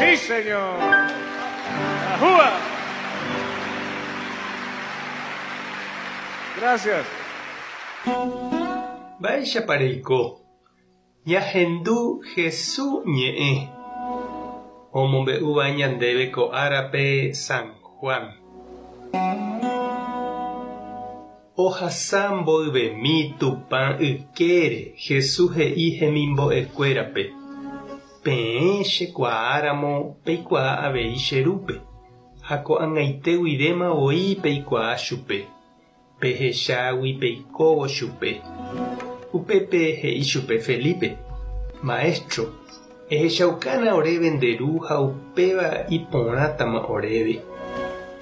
Sí, señor. ¡Ajúa! Gracias. Mba'éichapa reiko? Ñahendu Hesu ñe'ẽ omombe'úva ñandéve ko árape San Juan. Ohasa mboyvemi Tupã ykére Hesu he'i hemimbo'ekuérape, Peẽ chekuaáramo peikuaa avei che Rúpe, ha ko'ag̃aite guivéma voi peikuaa chupe. Pehechágui peikóvo chupe. Upépe he'i chupe Felipe, Maestro, ehechaukána oréve nde Ru ha upéva iporãtama oréve.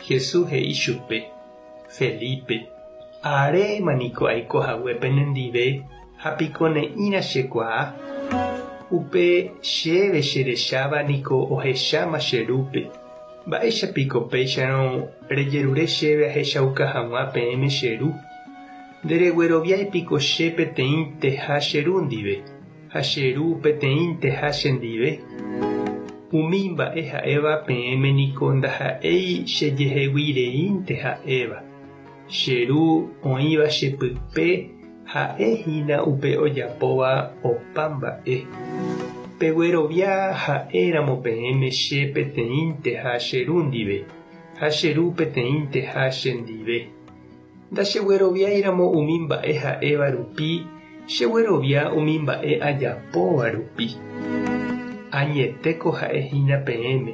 Jesús he'i chupe, Felipe, aréma niko aiko hague penendive ha piko ne'ĩra chekuaa? Upe chéve cherecháva niko ohecháma che Rúpe. Mba'éicha piko péicharõ rejerure chéve ahechauka hag̃ua peẽme che Ru? Nderegueroviái piko che peteĩnteha che Ru ndive, ha che Ru peteĩnteha chendive? Umi mba'e ha'éva peẽme niko ndaha'éi chejehegui reínte ha'éva. Che Ru oĩva che pype Ha'e hína upe ojapóva opa mba'e. Peguerovia ha'éramo peẽme che peteĩnteha che Ru ndive, ha che Ru peteĩnteha che ndive. Ndachegueroviáiramo umi mba'e ha'éva rupi, cheguerovia umi mba'e ajapóva rupi. Añetéko ha'e hína peẽme.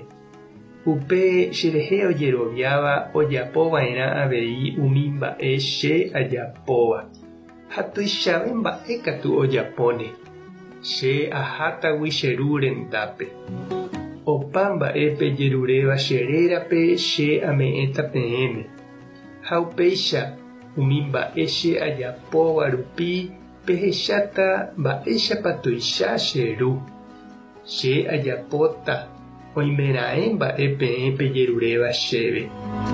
Upe cherehe ojeroviáva ojapo va'erã avei umi mba'e che ajapóva, ha tuichave mba'e katu ojapóne, che ahátagui che Ru rendápe. Opa mba'e pejeruréva che rérape che ame'ẽta peẽme, ha upéicha umi mba'e che ajapóva rupi pehecháta mba'éichapa tuicha che Ru. Che ajapóta oimeraẽ mba'e peẽ pejeruréva chéve.